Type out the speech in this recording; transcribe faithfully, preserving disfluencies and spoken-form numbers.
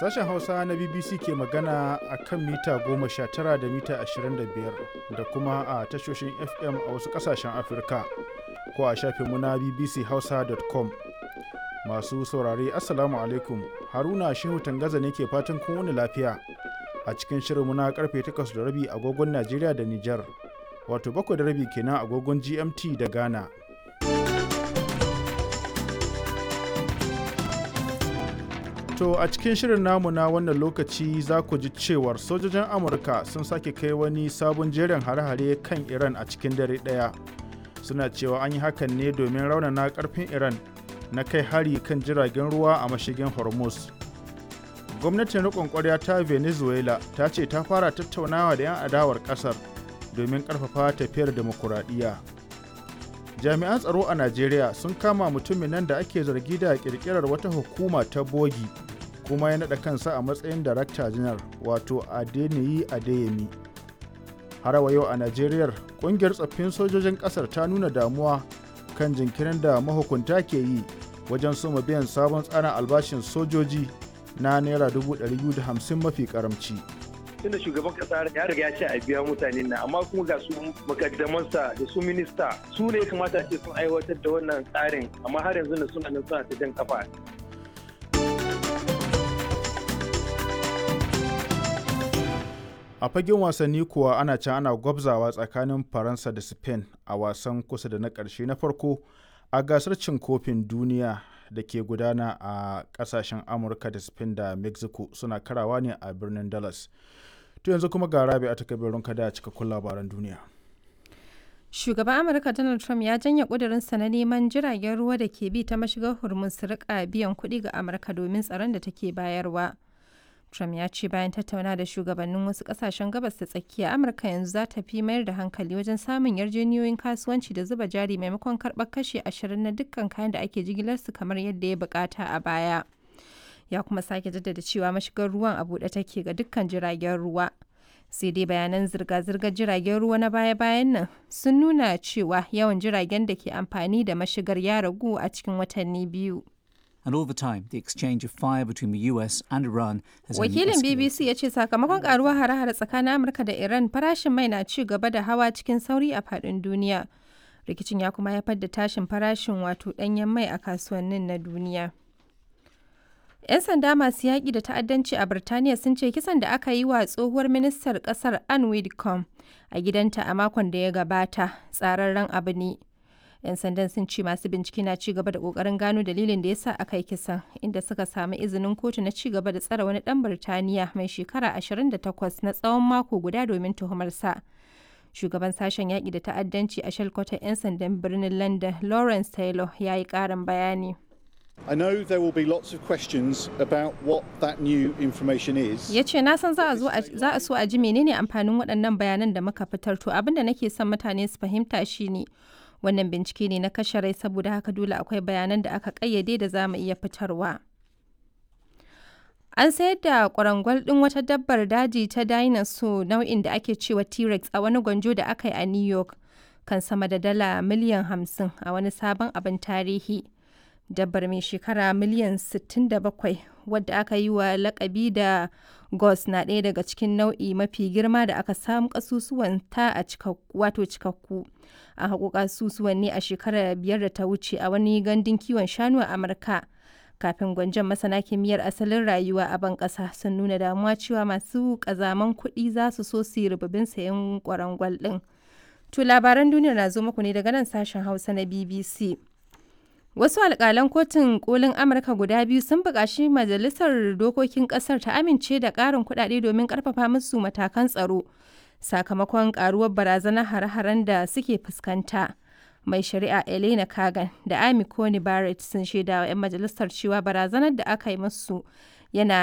Sashen Hausa na B B C ke magana a kan mita goma sha tara da mita ashirin da biyar da kuma a tashoshin F M a wasu ƙasashen Afirka ko a shafinmu na B B C Hausa dot com. Masu saurare, Assalamu alaikum, Haruna Shehu Tangaza ne ke fatan kun wuni lafiya a cikin shirinmu na karfe takwas da rabi agogon Najeriya da Nijar, wato bakwai da rabi kenan agogon G M T da Ghana. To a cikin shirin namu na wannan lokaci za ku ji cewar sojojin Amurka sun sake kai wani sabon jerin hare-hare kan Iran a cikin dare ɗaya. Suna cewa an yi hakan ne domin raunana ƙarfin Iran na kai hari kan jiragen ruwa a mashigin Hormuz. Gwamnatin riƙon ƙwarya ta Venezuela ta ce ta fara tattaunawa da 'yan adawar ƙasar domin ƙarfafa tafiyar demokuraɗiyya. Jami'an tsaro a Najeriya sun kama mutumin nan da ake zargi da ƙirƙirar wata hukuma ta bogi kuma ya naɗa kansa a matsayin darakta janar, wato Adeniyi Adeyemi. Har wa yau a Najeriya, ƙungiyar tsaffin sojojin ƙasar ta nuna damuwa kan jinkirin da mahukunta ke yi wajen soma biyan sabon tsarin albashin sojoji na naira dubu ɗari biyu da hamsin mafi karamci. Tunda shugaban kasa ya riga ya ce a biya mutane na, amma kuma ga su makaddamansa da su minista su ne ya kamata ce sun aiwatar da wannan tsarin, amma har yanzu na suna nan suna ta jan kafa. A fagen wasanni kuwa, ana can ana gwabzawa tsakanin Faransa da Spain a wasan kusa da na ƙarshe na farko a gasar cin kofin duniya da ke gudana a ƙasashen Amurka da Spain da Mexico, suna karawa ne a birnin Dallas. To yanzu kuma ga Rabi a takabirin kada cikakkun labaran duniya. Shugaban Amurka Donald Trump ya janye ƙudurinsa na neman jiragen ruwa da ke bi ta mashigar Hormuz su rika biyan kuɗi ga Amurka domin tsaron da take bayarwa. Trump ya ce bayan tattauna da shugabannin wasu kasashen Gabas ta Tsakiya, Amurka yanzu za ta fi mayar da hankali wajen samun yarjejeniyoyin kasuwanci da zuba jari maimakon karɓar kashi ashirin na dukkan kayan da ake jigilarsu kamar yadda ya bukata a baya. Ya kuma sake jaddada cewa mashigar ruwan a buɗe take ga dukkan jiragen ruwa. Sai dai bayanan zirga-zirgar jiragen ruwa na baya-bayan nan sun nuna cewa yawan jiragen da ke amfani da mashigar ya ragu a cikin watanni biyu. And all the time, the exchange of fire between the U S and Iran has only Wakilin escalated. B B C ya ce sakamakon karuwar hare-hare tsakanin Amurka da Iran, farashin mai na ci gaba da hawa cikin sauri a faɗin duniya. Rikicin ya kuma haifar da tashin farashin wato ɗanyen mai a kasuwannin na duniya. 'Yan sanda masu yaƙi da ta'addanci a Birtaniya sun ce kisan da aka yi wa tsohuwar ministar ƙasar Anne Widdecombe a gidanta a makon da ya gabata tsararren abu ne. 'Yan sandan sun ce masu bincike na ci gaba da kokarin gano dalilin da ya sa aka yi kisan, inda suka samu izinin kotu na ci gaba da tsare wani dan Birtaniya mai shekara ashirin da takwas na tsawon mako guda domin tuhumarsa. Shugaban sashen yaƙi da ta'addanci a shalkwatar 'yan sandan birnin London, Lawrence Taylor, ya yi ƙarin bayani. I know there will be lots of questions about what that new information is. Ya ce na san za a zo a- za a so a ji menene amfanin waɗannan bayanan da muka fitar. To abin da nake son mutane su fahimta shine wannan bincike ne na kashe rai, saboda haka dole akwai bayanan da aka ƙayyade da za mu iya fitarwa. An sayar da kwarangwal ɗin wata dabbar daji ta dinosaur nau'in da ake cewa T-Rex a wani gwanjo da aka yi a New York kan sama da dala miliyan hamsin a wani sabon abin tarihi. Dabbar mai shekara miliyan sittin da bakwai, wadda aka yi wa lakabi da Gus, na ɗaya daga cikin nau'i mafi girma da aka samu kasusuwan ta a wato cikakku. An haƙo kasusuwan ne a shekarar biyar da ta wuce a wani gandun kiwon shanu a Amurka. Kafin gwanjon, masana kimiyyar asalin rayuwa a ban ƙasa sun nuna damuwa cewa masu ƙazaman kuɗi za su so su yi rububin sayen kwarangwal ɗin. To labaran duniyar na zo muku ne daga nan sashen Hausa na B B C. Wasu alƙalan kotun kolin Amurka guda biyu sun buƙaci majalisar dokokin ƙasar ta amince da ƙarin kuɗaɗe domin ƙarfafa musu matakan tsaro sakamakon ƙaruwar barazanar hare-haren da suke fuskanta. Mai shari'a Elena Kagan da Amy Coney Barrett sun shaidawa 'yan majalisar cewa barazanar da aka yi musu yana